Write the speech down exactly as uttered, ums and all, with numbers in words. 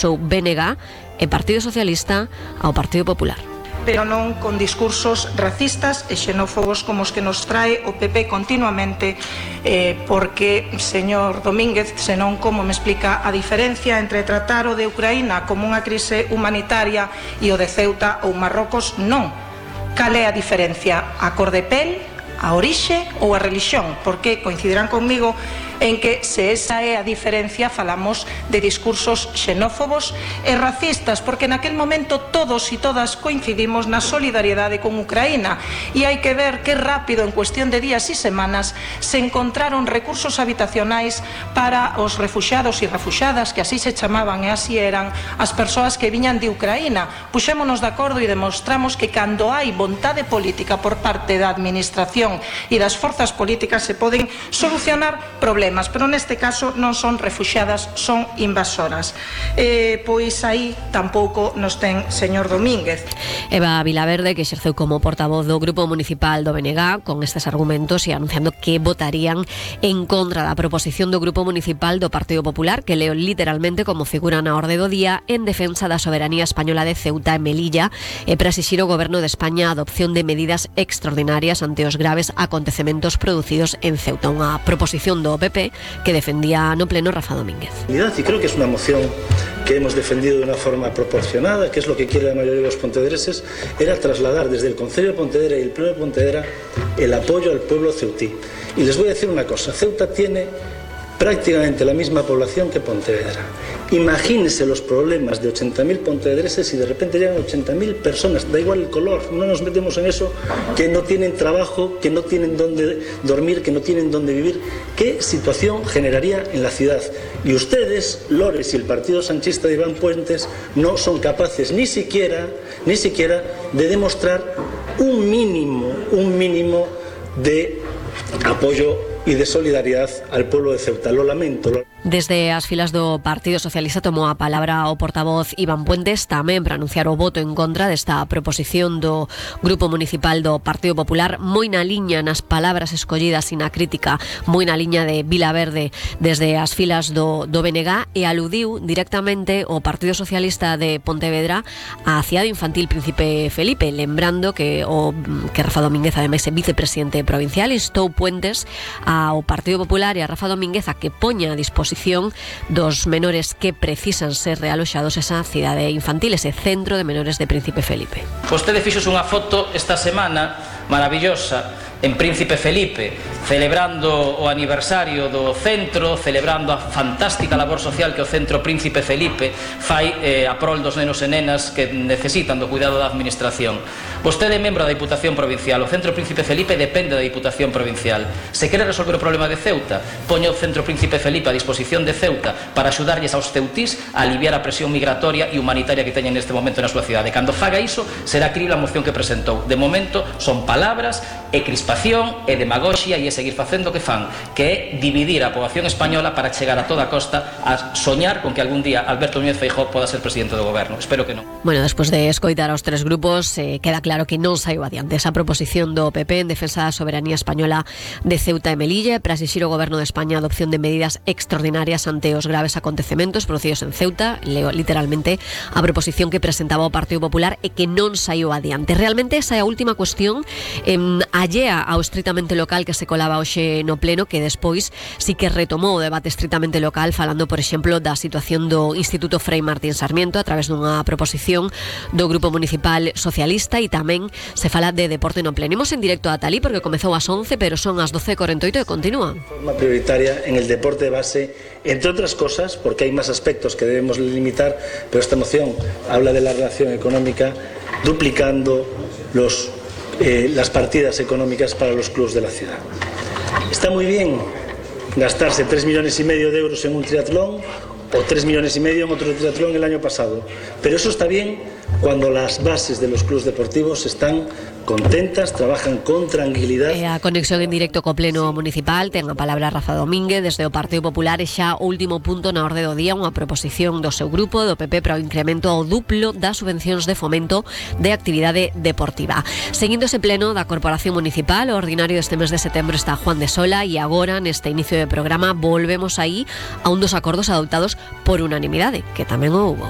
o B N G e Partido Socialista ao Partido Popular. Pero non con discursos racistas e xenófobos como os que nos trae o P P continuamente, eh, porque, señor Domínguez, senón como me explica a diferencia entre tratar o de Ucraína como unha crise humanitaria e o de Ceuta ou Marrocos, non. Cal é a diferencia? A cor de pel, a orixe ou a religión? Porque coincidirán conmigo en que se esa é a diferencia falamos de discursos xenófobos e racistas, porque naquel momento todos e todas coincidimos na solidariedade con Ucraína e hai que ver que rápido, en cuestión de días e semanas, se encontraron recursos habitacionais para os refuxiados e refuxiadas, que así se chamaban e así eran as persoas que viñan de Ucraína. Puxémonos de acordo e demostramos que cando hai vontade política por parte da administración e das forzas políticas se poden solucionar problemas. Pero neste caso non son refuxiadas, son invasoras. Eh, pois aí tampouco nos ten señor Domínguez. Eva Vilaverde, que exerceu como portavoz do Grupo Municipal do B N G con estes argumentos e anunciando que votarían en contra da proposición do Grupo Municipal do Partido Popular, que leo literalmente como figura na orde do día, en defensa da soberanía española de Ceuta e Melilla e para exixir ao Goberno de España a adopción de medidas extraordinarias ante os graves acontecementos producidos en Ceuta. Unha proposición do P P que defendía no pleno Rafa Domínguez. Y creo que es una moción que hemos defendido de una forma proporcionada, que es lo que quiere la mayoría de los pontevedreses, era trasladar desde el Concello de Pontevedra y el Pleno de Pontevedra el apoyo al pueblo ceutí. Y les voy a decir una cosa, Ceuta tiene prácticamente la misma población que Pontevedra. Imagínense los problemas de ochenta mil pontevedreses y de repente llegan ochenta mil personas, da igual el color, no nos metemos en eso, que no tienen trabajo, que no tienen dónde dormir, que no tienen dónde vivir. ¿Qué situación generaría en la ciudad? Y ustedes, Lores y el partido sanchista de Iván Puentes, no son capaces ni siquiera, ni siquiera de demostrar un mínimo, un mínimo de apoyo e de solidaridade al pueblo de Ceuta. Lo lamento. Lo... Desde as filas do Partido Socialista tomou a palabra o portavoz Iván Puentes tamén para anunciar o voto en contra desta proposición do Grupo Municipal do Partido Popular, moi na liña nas palabras escollidas e na crítica, moi na liña de Vilaverde desde as filas do, do B N G, e aludiu directamente o Partido Socialista de Pontevedra á cidade infantil Príncipe Felipe, lembrando que o que Rafa Domínguez ademais é vicepresidente provincial, instou Puentes ao Partido Popular e a Rafa Domínguez a que poña a disposición dos menores que precisan ser realoxados esa cidade infantil, ese centro de menores de Príncipe Felipe. Vostede fixos unha foto esta semana maravillosa en Príncipe Felipe, celebrando o aniversario do centro, celebrando a fantástica labor social que o centro Príncipe Felipe fai eh, a prol dos nenos e nenas que necesitan do cuidado da administración. Vostede é membro da Diputación Provincial, o centro Príncipe Felipe depende da Diputación Provincial. Se quere resolver o problema de Ceuta, poña o centro Príncipe Felipe a disposición de Ceuta para axudarlles aos ceutís a aliviar a presión migratoria e humanitaria que teñen neste momento na súa cidade. Cando faga iso, será crible a moción que presentou. De momento, son palabras e crispación e demagoxia e é seguir facendo o que fan, que é dividir a poboación española para chegar a toda costa a soñar con que algún día Alberto Núñez Feijóo poda ser presidente do goberno. Espero que non. Bueno, despois de escoitar aos tres grupos, eh, queda claro que non saiu adiante esa proposición do P P en defensa da soberanía española de Ceuta e Melilla para exixir ao goberno de España a adopción de medidas extraordinarias ante os graves acontecementos producidos en Ceuta. Leo literalmente a proposición que presentaba o Partido Popular e que non saiu adiante. Realmente esa é a última cuestión eh, allea ao estritamente local que se colaba hoxe no pleno, que despois sí que retomou o debate estritamente local falando, por exemplo, da situación do Instituto Frei Martín Sarmiento a través dunha proposición do Grupo Municipal Socialista, e tamén se fala de deporte no pleno. Imos en directo a Talí porque comezou ás once, pero son as doce e cuarenta e oito e continúa. De forma prioritaria en el deporte de base, entre otras cosas, porque hay más aspectos que debemos limitar, pero esta moción habla de la relación económica duplicando los Eh, las partidas económicas para los clubes de la ciudad. Está muy bien gastarse tres millones y medio de euros en un triatlón o tres millones y medio en otro triatlón el año pasado, pero eso está bien cuando las bases de los clubes deportivos están contentas, trabajan con tranquilidad. E a conexión en directo co pleno municipal ten a palabra Rafa Domínguez desde o Partido Popular, e xa o último punto na orde do día, unha proposición do seu grupo do P P para o incremento ao duplo das subvencións de fomento de actividade deportiva. Seguindo ese pleno da Corporación Municipal, o ordinario deste mes de setembro está Juan de Sola, e agora neste inicio de programa volvemos aí a un dos acordos adoptados por unanimidade, que tamén o hubo.